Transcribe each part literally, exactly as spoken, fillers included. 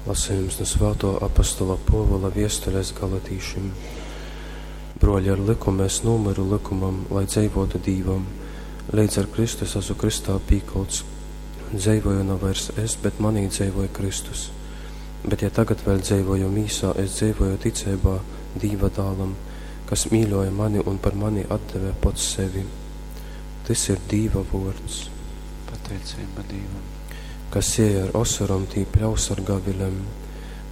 Lasejums nu Svātuo apostola Puovula viestules galatīšim. Bruoļi, ar lykumu es nūmyru lykumam, lai dzeivuotu Dīvam. Leidz ar Kristu es asu krystā pīkolts. Dzeivoju na vairs es, bet manī dzeivoj Kristus. Bet ja tagad vēļ dzeivoju mīsā, es dzeivoju ticeibā Dīva dālam, kas mīļuoja mani un par mani atdeve pots sevi. Tys ir Dīva vuords. Pateiceiba Dīvam. Kas sieja ar osorom, tī pļaus ar gavilem.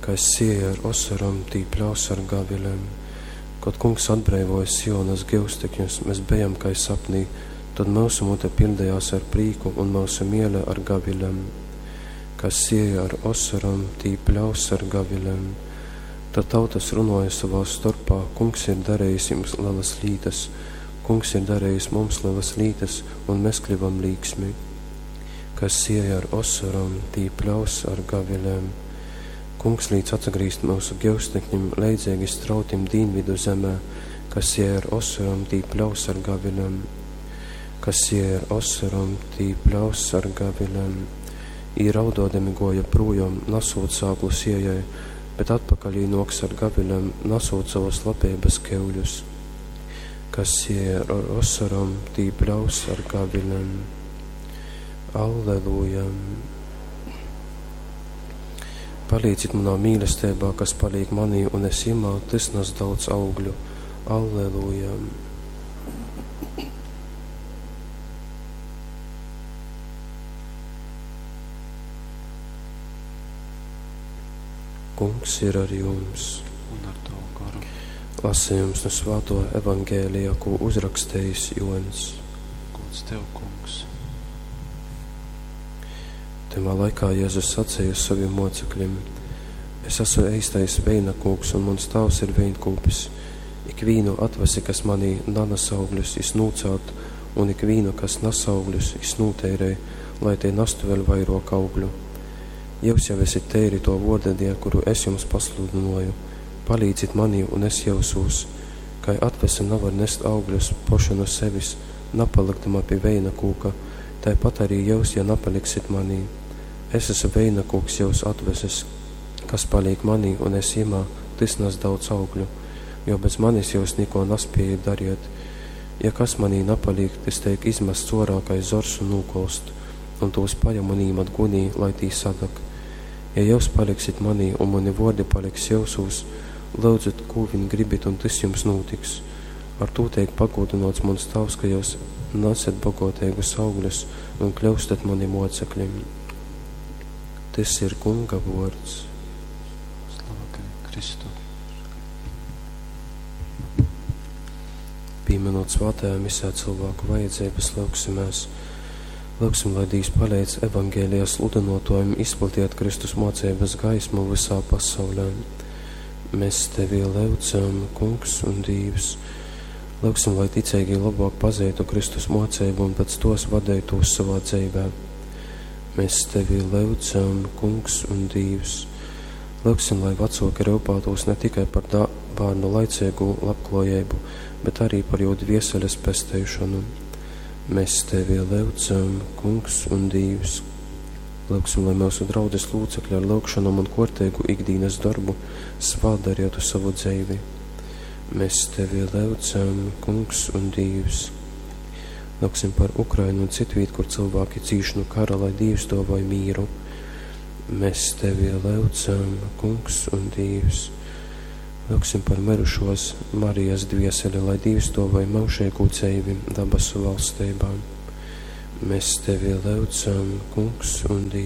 Kas sieja ar osorom, tī pļaus ar gavilem. Kod Kungs atbreivoja Sionas gyustekņus, mes bejam kai sapnī, tod myusu mute piļdejās ar prīku un myusu miele ar gavilem. Kas sieja ar osorom, tī pļaus ar gavilem. Tad tautas runoja sovā storpā: Kungs ir darījis jums lielas lītas, Kungs ir darījis mums lielas lītas, un mēs kļuvam līksmi. Kas sieja ar osorom, tī pļaus ar gavilēm. Kungs līdz atsagrīzt myusu gyustekņim, leidzīgi strautim dīnvidu zemē, kas sieja ar osorom, tī pļaus ar gavilēm. Kas sieja ar osorom, tī pļaus ar gavilēm. Ī raudodami goja prūjom, nasūt sāklu siejai, bet atpakaļ jī nuoks ar gavilēm, nasūt savas labības keļus. Kas sieja ar osorom, tī pļaus ar gavilēm. Alleluja! Palīdzit manā mīlestībā, kas palīk manī, un es jimā, tys nas daudz augļu. Alleluja! Kungs ir ar jums. Un ar tavu garu. Lasījums no Svāto Evangēlija, ko uzrakstījis Joņs. Gods tev, Kungs. Tymā laikā Jēzus sacīja saviem mocekļiem: Es esmu eistais veinakūks, un mans tēvs ir veinkūpis. Ikvīnu atvasi, kas manī nanes augļus, jis nūcelt, un ikvīnu, kas nes augļus, jis nūteirē, lai tie nastu vēl vairāk augļu. Jūs jau esat teiri to vorda die, kuru es jums pasludinoju. Palīdzit manī, un es jausos, kai atvese nevar nest augļus poša no sevis, napalikdama pie veina kūka, tāpat arī jūs, ja nepaliksit manī. Es esmu veina kūks jūs atveses, kas paliek manī, un es jimā, tys nes daudz augļu, jo bez manis jūs neko nespējat dariet. Ja kas manī nepaliek, tys teik izmests orā kai zors un nūkolst, un tos paņem un īmet gunī, lai tī sadag. Ja jūs paliksit manī, un mani vordi paliks jūsūs, lūdzat, ko vien gribit, un tys jums notiks. Ar tū teik pagodinots mans tēvs, ka jūs nesat bagoteigus augļus un kļūstat mani mocekļiem. Tys ir Kunga vords. Slava tev, Kristu. Pieminot svētajā misē cilvēku vajadzības, lūgsimies. Lūgsim, lai Dievs palīdz evangēlijā sludinotājiem izplatiet Kristus mocības gaismu visā pasaulē. Mēs tevi lūdzam, Kungs un Dievs. Lūgsim, lai ticīgi labāk pazītu Kristus mocību un pēc tos vadītos savā dzīvē. Mēs tevi lūdzam, Kungs un Dievs. Lūgsim, lai vecāki rūpētos ne tikai par dā, bērnu laicīgu labklājību, bet arī par jū dvieseles pesteišanu. Mēs tevi lūdzam, Kungs un Dievs. Lūgsim, lai mūsu draudzes locekļi ar lūgšanām un korteigu ikdienas darbu svātdarītu savu dzīvi. Mēs tevi lūdzam, Kungs un Dievs. Lūgsim par Ukrainu un citvīt, kur cilvēki cīš no kara, lai Dievs dāvāj mīru. Mēs tevi lūdzam, Kungs un Dievs. Lūgsim par mirušos Marijas dvieseli, lai Dievs dāvāj mūžīgu dzīvi dabasu valstībā. Mēs tevi lūdzam, Kungs un Dievs.